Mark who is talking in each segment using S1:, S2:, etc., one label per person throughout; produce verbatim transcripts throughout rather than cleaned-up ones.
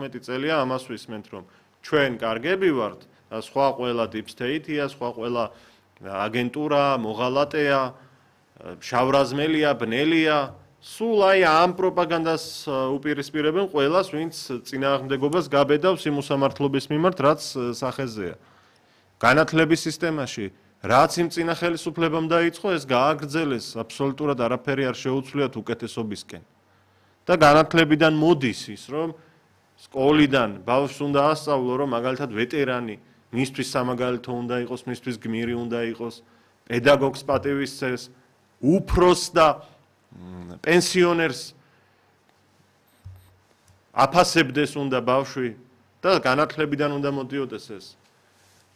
S1: ათმეტი წელია ამას ვისმენთ, რომ ჩვენ კარგები ვართ, და სხვა ყველა deep state-ია, სხვა ყველა აგენტურა, მოღალატეა, შავრაზმელია, ბნელია, სულ აი ამ პროპაგანდას უპირისპირებენ ყველას, ვინც წინააღმდეგობას გაბედავს იმ უსამართლობის მიმართ, რაც სახეზეა. განათლების სისტემაში რაც იმ წინა ხელისუფლებამ დაიწყო, ეს გააგრძელეს, აბსოლუტურად არაფერი არ შეუცვლიათ უკეთესობისკენ. და განათლებიდან მოდის ის, რომ სკოლიდან ბავშვს უნდა ასწავლო, რომ მაგალითად ვეტერანი, მისთვის სამაგალითო უნდა იყოს, მისთვის გმირი უნდა იყოს, პედაგოგს პატივისცეს, უფროს და პენსიონერს აფასებდეს უნდა ბავშვი და განათლებიდან უნდა მოდიოდეს ეს.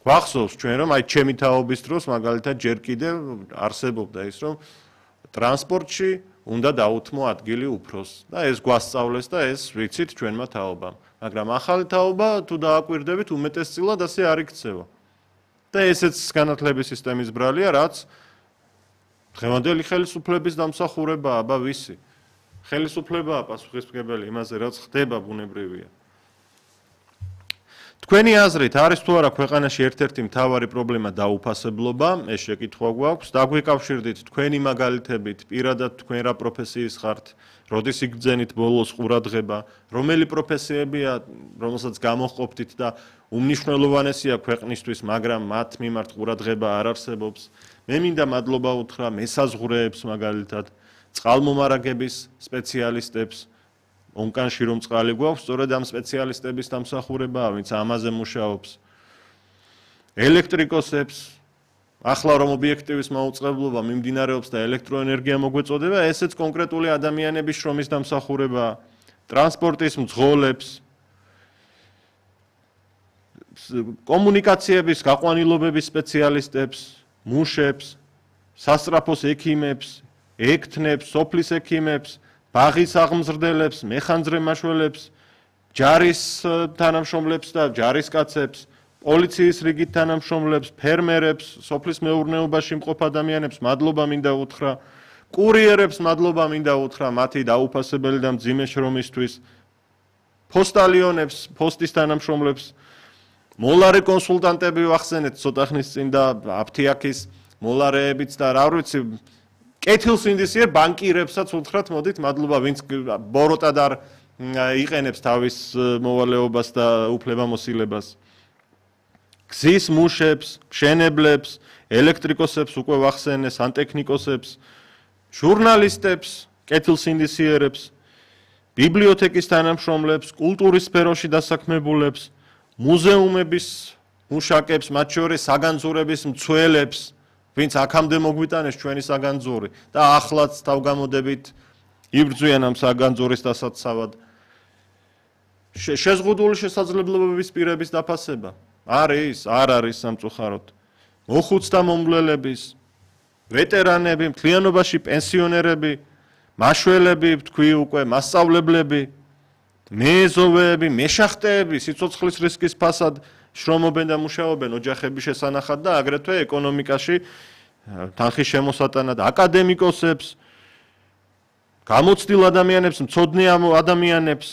S1: გვახსოვს ჩვენ რომ აი ჩემი თაობის დროს მაგალითად ჯერ კიდევ არსებობდა ის რომ ტრანსპორტში უნდა დაუთმო ადგილი უფროს და ეს გვასწავლეს და ეს ვიცით ჩვენმა თაობამ. მაგრამ ახალი თაობა თუ დააკვირდებით უმეტესწილად ასე არ იქცევა. და ესეც განათლების სისტემის ბრალია, რაც დღევანდელი ხელისუფლების დამსახურებაა, აბა ვისი. ხელისუფლებაა პასუხისმგებელი იმაზე, რაც ხდება ბუნებრივია. თქვენი აზრით არის თუ არა ქვეყანაში ერთ-ერთი მთავარი პრობლემა დაუფასებლობა, ეს შეკითხვა გვაქვს, დაგვიკავშირდით თქვენი მაგალითებით, პირადად თქვენ რა პროფესიის ხართ, როდის იგრძენით ბოლოს ყურადღება, რომელი პროფესიებია, რომელსაც გამოჰყოფდით და უმნიშვნელოვანესია ქვეყნისთვის, მაგრამ მათ მიმართ ყურადღება არ არსებობს. მე მინდა მადლობა უთხრა მესაზღვრეებს მაგალითად, წყალმომარაგების სპეციალისტებს, ონკანში რომ წყალი გვაქვს, სწორედ ამ სპეციალისტების დამსახურებაა, ვინც ამაზე მუშაობს. ელექტრიკოსებს, ახლა რომ ობიექტივის მაუწყებლობა მიმდინარეობს და ელექტროენერგია მოგვეწოდება, ესეც კონკრეტული ადამიანების შრომის დამსახურებაა. ტრანსპორტის მძღოლებს, კომუნიკაციების გაყვანილობების სპეციალისტებს, მუშებს, სასწრაფოს ექიმებს, ექთნებს, სოფლის ექიმებს, ბაღის აღმზრდელებს, მეხანძრე მაშველებს, ჯარის თანამშრომლებს და ჯარისკაცებს, პოლიციის რიგით თანამშრომლებს, ფერმერებს, სოფლის მეურნეობაში მყოფ ადამიანებს მადლობა მინდა უთხრა, კურიერებს მადლობა მინდა უთხრა მათი დაუფასებელი და მძიმე შრომისთვის, პოსტალიონებს, პოსტის თანამშრომლებს, მოლარე კონსულტანტები ვახსენეთ ცოტა ხნის წინ და აფთიაქის მოლარეებიც და რა ვიცი კეთილსინდისიერ ბანკირებსაც უთხრათ, მოდით, მადლობა, ვინც ბოროტად არ იყენებს თავის მოვალეობას და უფლებამოსილებას. გზის მუშებს, მშენებლებს, ელექტრიკოსებს უკვე ვახსენე, სანტექნიკოსებს, ჟურნალისტებს, კეთილსინდისიერებს, ბიბლიოთეკის თანამშრომლებს, კულტურის სფეროში დასაქმებულებს, მუზეუმების მუშაკებს, მათ შორის საგანძურების მცველებს, ვინც აქამდე მოგვიტანეს ჩვენი საგანძური და ახლაც თავგამოდებით იბრძვიან ამ საგანძურის დასაცავად. შეზღუდული შესაძლებლობების პირების დაფასება არის, არ არის სამწუხაროდ. მოხუცთა მომვლელების, ვეტერანები, მთლიანობაში პენსიონერები, მაშველები, თქვი უკვე მასწავლებლები, მეზოვეები, მეშახტეები, სიცოცხლის რისკის ფასად შრომობენ და მუშაობენ ოჯახების შესანახად და აგრეთვე ეკონომიკაში თანხის შემოსატანად აკადემიკოსებს, გამოცდილ ადამიანებს, მცოდნე ადამიანებს,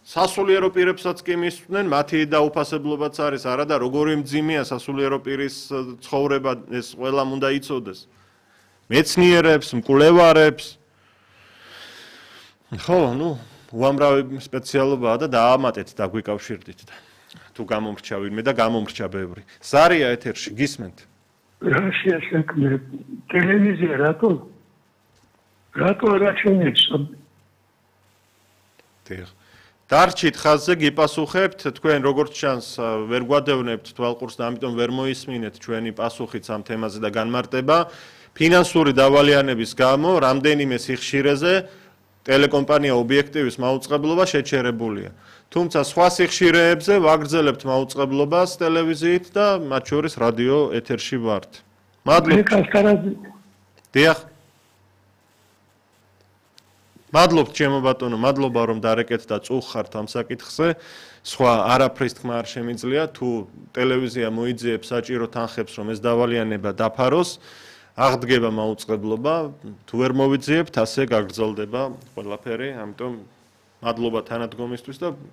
S1: სასულიერო პირებსაც კი მისვდნენ, მათი დაუფასებლობაც არის, არა და როგორი მძიმეა სასულიერო პირის ცხოვრება, ეს ყველამ უნდა იცოდეს. მეცნიერებს, მკვლევარებს. ხო, ნუ, უამრავი სპეციალობაა და დაამატეთ დაგვიკავშირდით და თუ გამომრჩა ვინმე და გამომრჩა ბევრი. ზარია ეთერში, გისმენთ?
S2: რაშია საქმე? ტელევიზია რატო? რატო არ აჩვენებს?
S1: დიახ. დარჩით ხაზზე გიპასუხებთ, თქვენ როგორც ჩანს ვერ გვადევნებთ თვალყურს და ამიტომ ვერ მოისმინეთ ჩვენი პასუხიც ამ თემაზე და განმარტება. ფინანსური დავალიანების გამო რამდენიმე სიხშირეზე ტელეკომპანია ობიექტივის მაუწყებლობა შეჩერებულია. თუმცა სხვა სიხშირეებზე ვაგრძელებთ მაუწყებლობას ტელევიზიით და მათ შორის რადიო ეთერში ვართ. მადლობა. დიახ. მადლობთ ჩემო ბატონო, მადლობა რომ დარეკეთ და წუხართ ამ საკითხზე. სხვა არაფრის თქმა არ შემიძლია, თუ ტელევიზია მოიძიებს საჭირო თანხებს, რომ ეს დავალიანება დაფაროს, აღდგება მაუწყებლობა, თუ ვერ მოვიძიებთ, ასე გაგრძელდება ყველაფერი, ამიტომ მადლობა თანადგომისთვის და